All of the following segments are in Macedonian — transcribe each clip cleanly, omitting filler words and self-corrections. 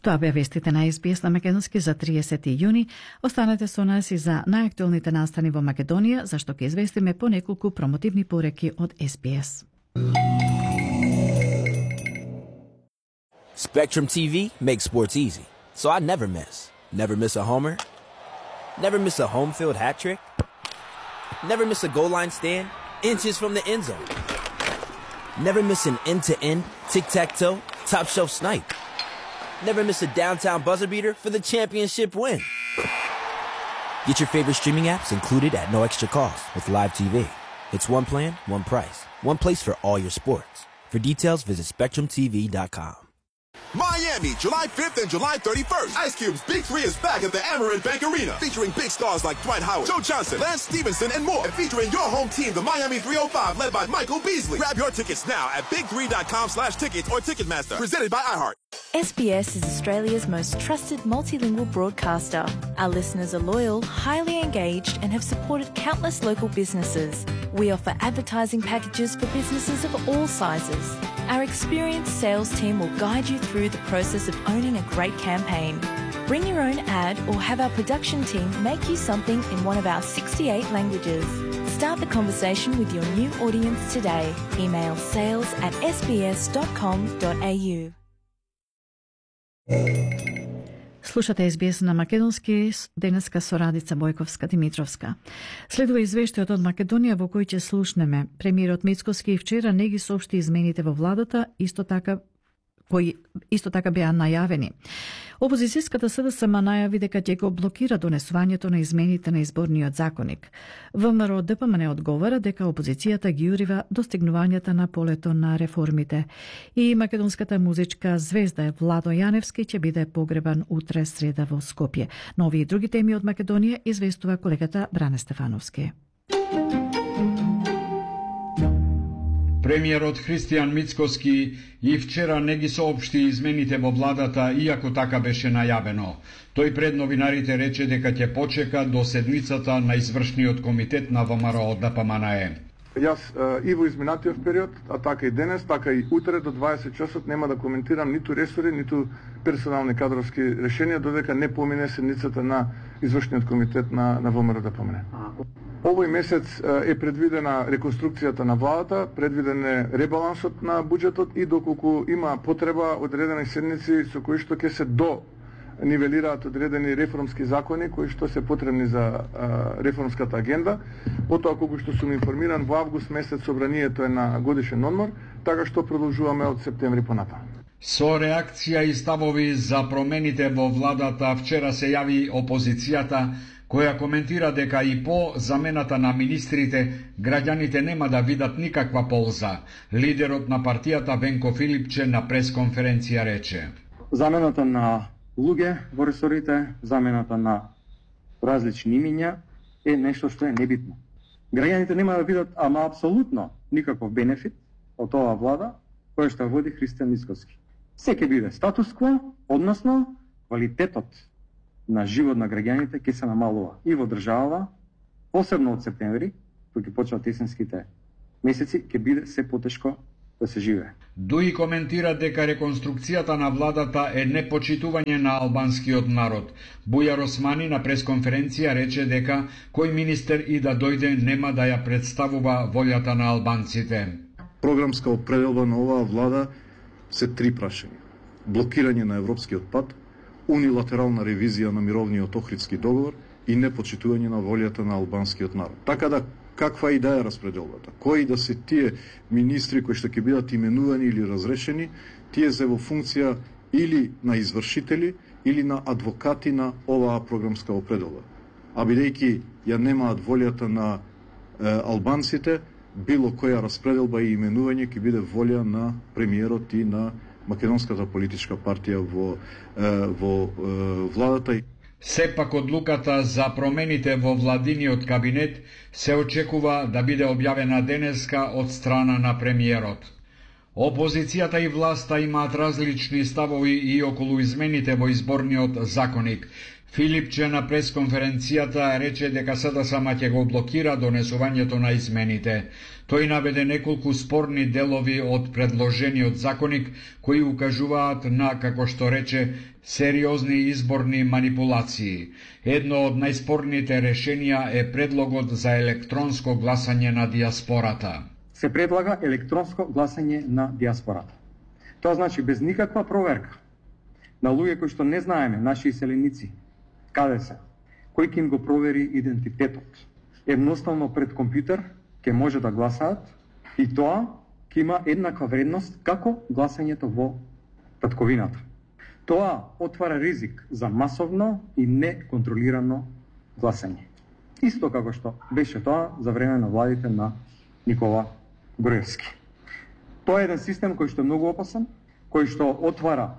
Тоа беа вестите на SBS на македонски за 30 јуни. Останете со нас и за најактуелните настани во Македонија, зашто ќе известиме по неколку промотивни пореки од SBS. Spectrum TV makes sports easy, so I never miss. Never miss a homer. Never miss a home field hat trick. Never miss a goal line stand inches from the end zone. Never miss an end-to-end, tic-tac-toe, top-shelf snipe. Never miss a downtown buzzer beater for the championship win. Get your favorite streaming apps included at no extra cost with Live TV. It's one plan, one price, one place for all your sports. For details, visit SpectrumTV.com. Miami, July 5th and July 31st. Ice Cube's Big 3 is back at the Amerant Bank Arena, featuring big stars like Dwight Howard, Joe Johnson, Lance Stevenson, and more. And featuring your home team, the Miami 305, led by Michael Beasley. Grab your tickets now at big3.com/tickets or Ticketmaster. Presented by iHeart. SBS is Australia's most trusted multilingual broadcaster. Our listeners are loyal, highly engaged, and have supported countless local businesses. We offer advertising packages for businesses of all sizes. Our experienced sales team will guide you through the process of owning a great campaign. Bring your own ad or have our production team make you something in one of our 68 languages. Start the conversation with your new audience today. Email sales@sbs.com.au. Слушате SBS на македонски, денеска со Радица Бојковска-Димитровска. Следува извештајот од Македонија во кој ќе слушнеме. Премиерот Мицкоски вчера не ги соопшти измените во владата, кои исто така беа најавени. Опозицијската СДСМ најави дека ќе го блокира донесувањето на измените на изборниот законник. ВМРО ДПМН одговара дека опозицијата ги урива достигнувањата на полето на реформите. И македонската музичка звезда Владо Јаневски ќе биде погребан утре среда во Скопје. Но овие и други теми од Македонија известува колегата Бране Стефановски. Премиерот Христијан Мицкоски и вчера не ги соопшти измените во владата, иако така беше најавено. Тој пред новинарите рече дека ќе почека до седмицата на извршниот комитет на ВМРО ДПМНЕ. Јас и во изминатиот период, а така и денес, така и утре до 20 часот нема да коментирам ниту ресори, ниту персонални кадровски решенија, додека не помине седницата на извршниот комитет на ВМРО ДПМНЕ. Овој месец е предвидена реконструкцијата на владата, предвиден е ребалансот на буџетот и доколку има потреба одредени седници со кои што ќе се нивелираат одредени реформски закони кои што се потребни за реформската агенда. Потоа, колку што сум информиран, во август месец собранието е на годишен одмор, така што продолжуваме од септември понатаму. Со реакција и ставови за промените во владата вчера се јави опозицијата, која коментира дека и по замената на министрите граѓаните нема да видат никаква полза. Лидерот на партијата Венко Филипче на пресконференција рече: замената на луѓе во ресорите, замената на различни имиња е нешто што е небитно. Граѓаните нема да видат ама апсолутно никаков бенефит од оваа влада која што води Христијан Мицкоски. Се ќе биде статус-кво, односно квалитетот на живот на граѓаните ќе се намалува и во држава, посебно од септември, кога ќе почнат есенските месеци, ќе биде се потешко да се живее. Дуи коментира дека реконструкцијата на владата е непочитување на албанскиот народ. Бујар Османи на пресконференција рече дека кој министер и да дојде нема да ја представува волјата на албанците. Програмска определба на оваа влада се три прашања: блокирање на европскиот пат, унилатерална ревизија на мировниот Охридски договор и непочитување на волјата на албанскиот народ. Така да, каква идеја е распределбата? Кои да се тие министри кои што ќе бидат именувани или разрешени, тие се во функција или на извршители или на адвокати на оваа програмска определба. А бидејќи ја немаат волјата на албанците, било која распределба и именување ќе биде волја на премиерот и на македонската политичка партија во владата. Сепак одлуката за промените во владиниот кабинет се очекува да биде објавена денеска од страна на премиерот. Опозицијата и власта имаат различни ставови и околу измените во изборниот законник. Филипче на пресконференцијата рече дека СДСМ ќе го блокира донесувањето на измените. Тој наведе неколку спорни делови од предложениот законик кои укажуваат на, како што рече, сериозни изборни манипулации. Едно од најспорните решенија е предлогот за електронско гласање на диаспората. Се предлага електронско гласање на диаспората. Тоа значи без никаква проверка на луѓе кои што не знаеме, наши иселеници, каде се, кој ќе им го провери идентитетот. Едноставно пред компјутер ќе може да гласаат и тоа ќе има еднаква вредност како гласањето во татковината. Тоа отвара ризик за масовно и неконтролирано гласање. Исто како што беше тоа за време на владите на Никола Груевски. Тоа е еден систем кој што е многу опасен, кој што отвара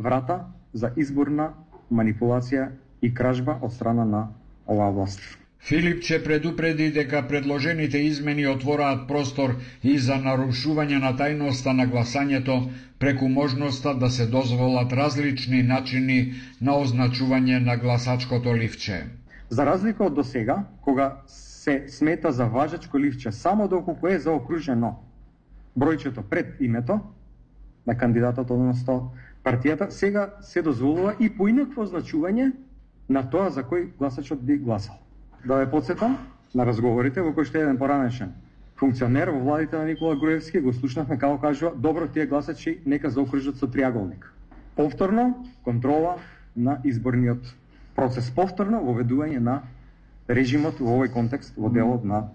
врата за изборна манипулација и кражба од страна на оваа власт. Филипче предупреди дека предложените измени отвораат простор и за нарушување на тајноста на гласањето преку можноста да се дозволат различни начини на означување на гласачкото ливче. За разлика од досега, кога се смета за важечко ливче само доколку е заокружено бројчето пред името на кандидатот, односно партијата, сега се дозволува и поинакво означување на тоа за кој гласачот би гласал. Да ве потсетам на разговорите во кои што еден поранешен функционер во владите на Никола Груевски го слушнавме како кажува: добро, тие гласачи нека заокружат со триаголник. Повторно контрола на изборниот процес, повторно воведување на режимот во овој контекст во делот на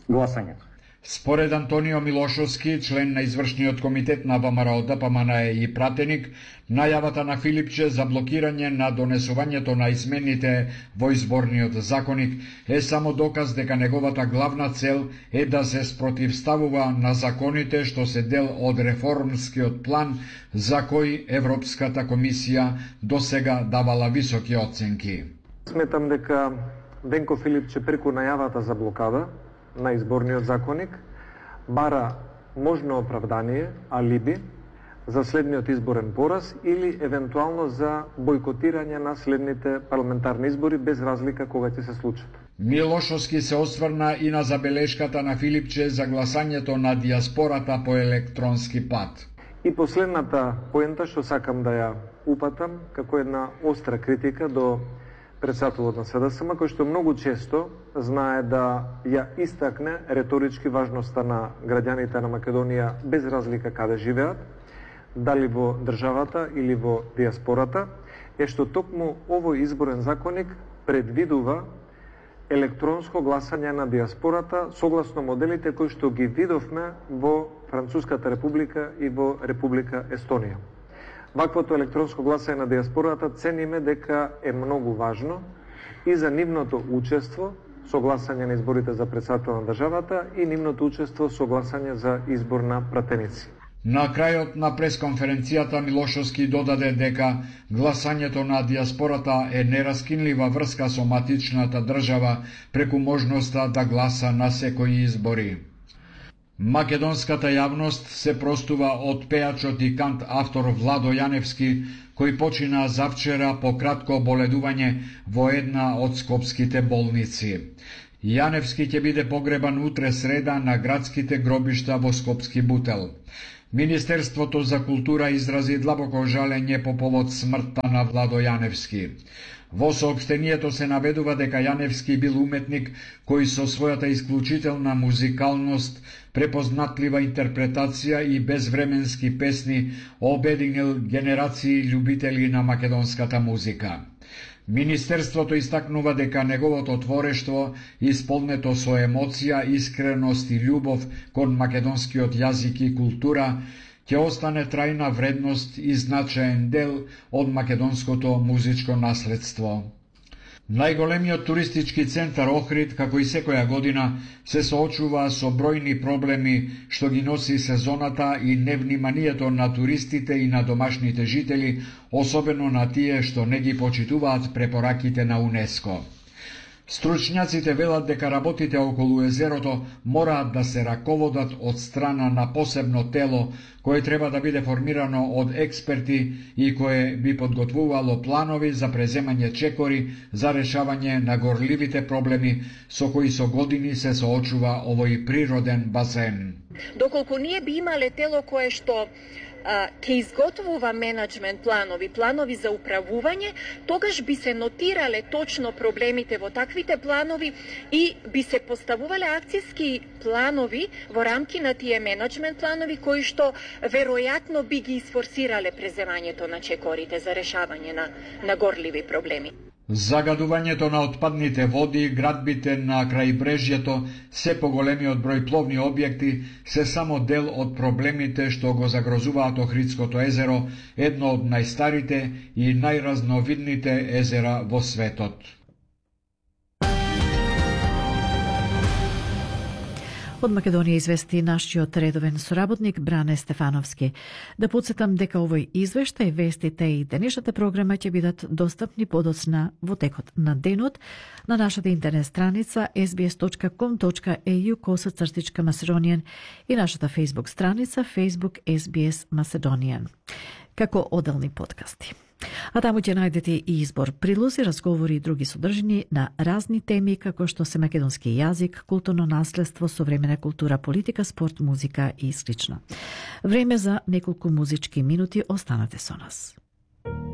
гласањето. Според Антонио Милошовски, член на извршниот комитет на ВМРО ДПМН и пратеник, најавата на Филипче за блокирање на донесувањето на измените во изборниот законик е само доказ дека неговата главна цел е да се спротивставува на законите што се дел од реформскиот план за кој Европската комисија досега давала високи оценки. Сметам дека Денко Филипче преку најавата за блокада на изборниот законик бара можно оправдание, алиби за следниот изборен пораз или евентуално за бојкотирање на следните парламентарни избори без разлика кога ќе се случат. Милошовски се осврна и на забелешката на Филипче за гласањето на диаспората по електронски пат. И последната поента што сакам да ја упатам како една остра критика до председателот на СДСМ, кој што многу често знае да ја истакне реторички важноста на граѓаните на Македонија без разлика каде живеат, дали во државата или во диаспората, е што токму овој изборен законник предвидува електронско гласање на диаспората согласно моделите кои што ги видовме во Француската република и во Република Естонија. Ваквото електронско гласање на диаспората цениме дека е многу важно и за нивното учество со гласање на изборите за председател на државата и нивното учество со гласање за избор на пратеници. На крајот на пресконференцијата Милошовски додаде дека гласањето на диаспората е нераскинлива врска со матичната држава преку можноста да гласа на секои избори. Македонската јавност се простува од пејачот и кант автор Владо Јаневски, кој почина завчера по кратко оболедување во една од скопските болници. Јаневски ќе биде погребан утре среда на градските гробишта во Скопски Бутел. Министерството за култура изрази длабоко жалење по повод смртта на Владо Јаневски. Во соопштението се наведува дека Јаневски бил уметник кој со својата исклучителна музикалност, препознатлива интерпретација и безвременски песни обединил генерации љубители на македонската музика. Министерството истакнува дека неговото творештво, исполнето со емоција, искреност и љубов кон македонскиот јазик и култура, ќе остане трајна вредност и значаен дел од македонското музичко наследство. Најголемиот туристички центар Охрид, како и секоја година, се соочува со бројни проблеми што ги носи сезоната и невниманието на туристите и на домашните жители, особено на тие што не ги почитуваат препораките на УНЕСКО. Стручњаците велат дека работите околу езерото мораат да се раководат од страна на посебно тело кое треба да биде формирано од експерти и кое би подготвувало планови за преземање чекори за решавање на горливите проблеми со кои со години се соочува овој природен базен. Доколку ние би имале тело кое што ќе изготвува менеджмент планови за управување, тогаш би се нотирале точно проблемите во таквите планови и би се поставувале акцијски планови во рамки на тие менеджмент планови кои што веројатно би ги изфорсирале преземањето на чекорите за решавање на горливи проблеми. Загадувањето на отпадните води, градбите на крајбрежјето, се поголемиот број пловни објекти се само дел од проблемите што го загрозуваат Охридското езеро, едно од најстарите и најразновидните езера во светот. Од Македонија извести нашиот редовен соработник Бране Стефановски. Да подсетам дека овој извештај, вестите и денешната програма ќе бидат достапни подоцна во текот на денот на нашата интернет страница sbs.com.au/Macedonian и нашата Facebook страница Facebook SBS Macedonian, како одделни подкасти. А таму ќе најдете и избор прилози, разговори и други содржини на разни теми, како што се македонски јазик, културно наследство, современа култура, политика, спорт, музика и слично. Време за неколку музички минути, останете со нас.